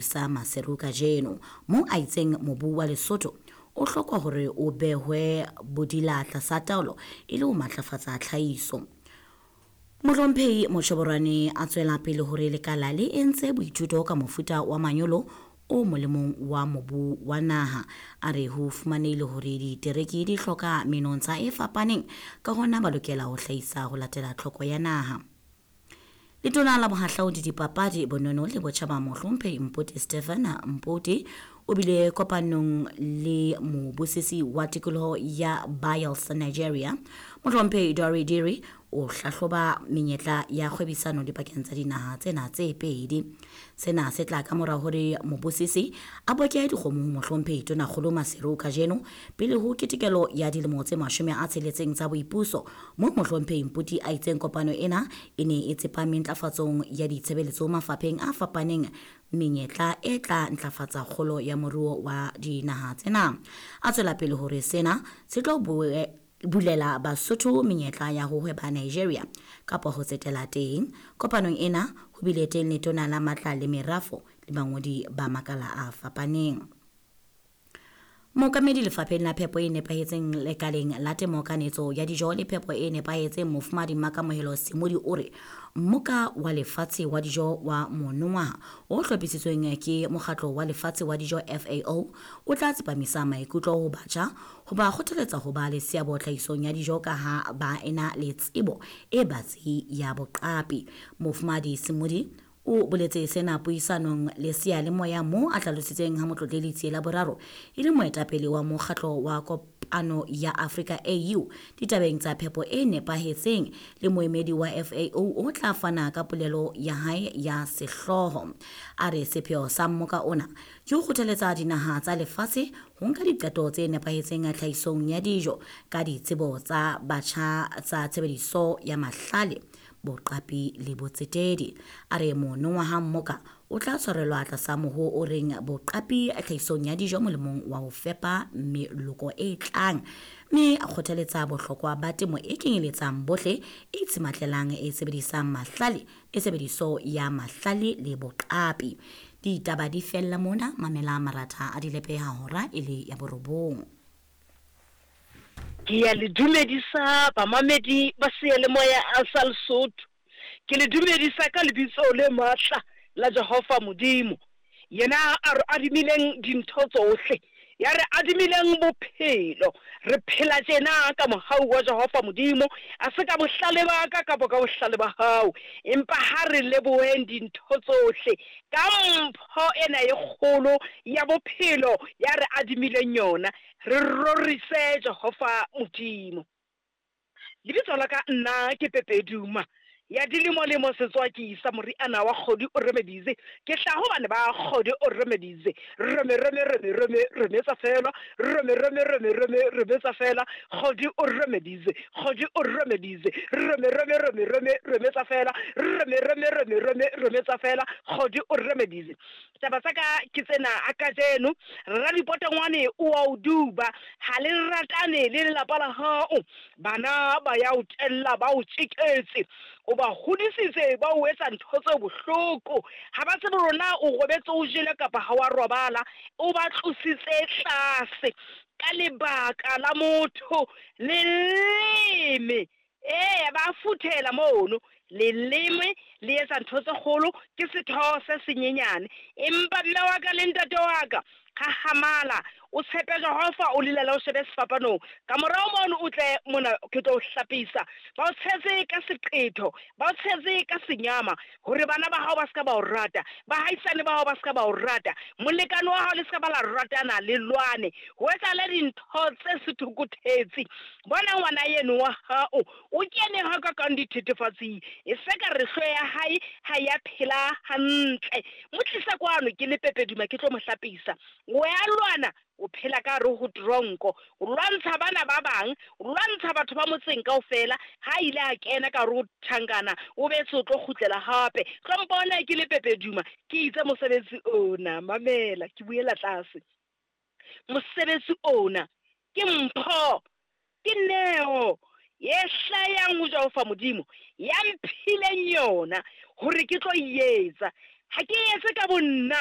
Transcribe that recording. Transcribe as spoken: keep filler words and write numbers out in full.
Sa Maseru kajeno, moo a itseng mobu wa Lesotho o hlokwa hore o behwe bodila tlasa taolo e le ho matlafatsa tlhahiso. Mohlomphehi Mochoborwane a tswela pele hore lekala le entse boithuto ka mofuta wa manyolo o molemong wa mobu wa naha. A re ho fumanehile hore ditereke di hloka menontsha e fapaneng, ka hona ba lokela ho hlahisa ho latela tlhoko ya naha. Letona la Bohahlaudi, Dipapadi, Bonono le Botjhaba Mohlomphehi Mpoti Stephen Mpoti o bile kopanong le mobusisi wa tikoloho ya Bayelsa, Nigeria, Mohlomphehi Dori Diri, o hlahloba menyetla ya kgwebisano dipakeng tsa dinaha tsena tse pedi. Sena se tla ka mora hore mobusisi a boke dikgomo ho Mohlomphehi Tonakgolo Maseru kajeno pele ho ketekelo ya dilemo tse mashome a tsheletseng tsa boipuso, moo Mohlomphehi Mpoti a itseng kopano ena e ne e tsepame ntlafatsong ya ditshebeletso mafapheng a fapaneng, menyetla e tla ntlafatsa kgolo ya moruo wa dinaha tsena. A tswela pele hore sena se tlo bulela Basotho menyetla ya ho hweba Nigeria kapa ho tsetela teng. Kopanong ena ho bile teng letona la matla le merafo le bangodi ba makala a fapaneng. Mookamedi lefapheng la phepo e nepahetseng lekaleng la temo, kanetso ya dijo le phepo e nepahetseng, Mofumahadi Makamohelo Semodi, o re mmoka wa lefatshe wa dijo wa monongwaha o hlophisitsweng ke mokgatlo wa lefatshe wa dijo F A O o tla tsepamisa maikutlo ho batjha ho ba kgothaletsa ho ba le seabo tlhahisong ya dijo ka ha ba ena le tsebo e batsi ya boqapi. Mofumahadi Semodi o boletse sena puisanong le seyalemoya moo a hlalositseng ha Motlotleli Tsiela Boraro e le moetapele wa mokgatlo wa kopano ya Afrika A U ditabeng tsa phepo e nepahetseng le moemedi wa F A O o tla fana ka polelo ya hae ya sehlooho. A re sepheo sa mmoka ona ke ho kgothaletsa dinaha tsa lefatshe ho nka diqeto tse nepahetseng tlhahisong ya dijo ka ditsebo tsa batjha tsa tshebediso ya mahlale, boqapi le botsetedi. A re monongwaha mmoka o tla tshwarelwa tlasa moho o reng boqapi tlhahisong ya dijo molemong wa ho fepa meloko e tlang, mme a kgothaletsa bohlokwa ba temo e kenyeletsang bohle, e itshematlelang, e sebedisang mahlale, e tshebediso ya mahlale le boqapi. Ditaba di fella mona, mamela maratha a dilepe ha hora e le ya borobong. Ke ya le dumedisa bamamedi ba seyalemoya a sa Lesotho. Ke le dumedisa ka lebitso le matla la Jehova Modimo, yena a re adimileng dintho tsohle, ya re adimileng bophelo. Re phela tjena ka mohau wa Jehova Modimo, a se ka bohlale ba ka kapa ka bohlale ba hao, empa ha re leboheng dintho tsohle ka mpho ena e kgolo ya bophelo ya re adimileng yona. Re rorise Jehova Modimo. Lebitso la ka nna ke Pepe Duma ya dilemo lemo setswaki sa moriana wa kgodi o remedize. Ke tla hobane ba kgodi o remedize. Reme reme reme reme remetsa fela, reme reme reme reme remetsa fela, kgodi o remedize, kgodi o remedize, reme reme reme reme remetsa fela, reme reme reme reme remetsa fela, kgodi o remedize. Taba tsa ka ke tsena a kajeno, Ralipotongwane o a o duba, ha le ratane le lelapa la hao, bana ba ya o tella ba o tjeketse, o ba hodisitse ba o etsa ntho tse bohloko, ha ba tsebe rona o robetse o jele kapa ha wa robala, o ba tlositse tlase ka lebaka la motho leleme. Eh, ba futhela mono leleme le etsa ntho tse kgolo, ke setho se senyenyane, empa mme wa ka le ntate wa ka hahamala, o tshepe Jehova, o lilele o shebe sefapanong, ka morao mono o tle mona ke tlo o hlapisa. Ba o tshetse ka seqetho, ba o tshetse ka senyama, hore bana ba hao ba ska ba o rata, bahaisane ba hao ba ska ba o rata, molekane wa hao le ska ba la ratana le lwane, ho etsahale dintho tse sethokothetse. Bona ngwana yeno wa hao o kene ha ka kang dithethefatsing, e se ka re hlo ya hae ha ya phela hantle. Mo tlisa kwano ke le Pepe Duma ke tlo mo hlapisa. O ya lwana, o phela ka hare ho tronko, o lwantsha bana ba bang, o lwantsha batho ba motseng kaofela. Ha ile a kena ka hare ho tjhankana, o betse o tlo kgutlela hape. Tlo mpona ke le Pepe Duma, ke itse mosebetsi ona, mamela, ke buela tlase. Mosebetsi ona ke mpho, ke neo ye hlayang ho Jehova Modimo, ya mphileng yona hore ke tlo e etsa. Ha ke etse ka bonna,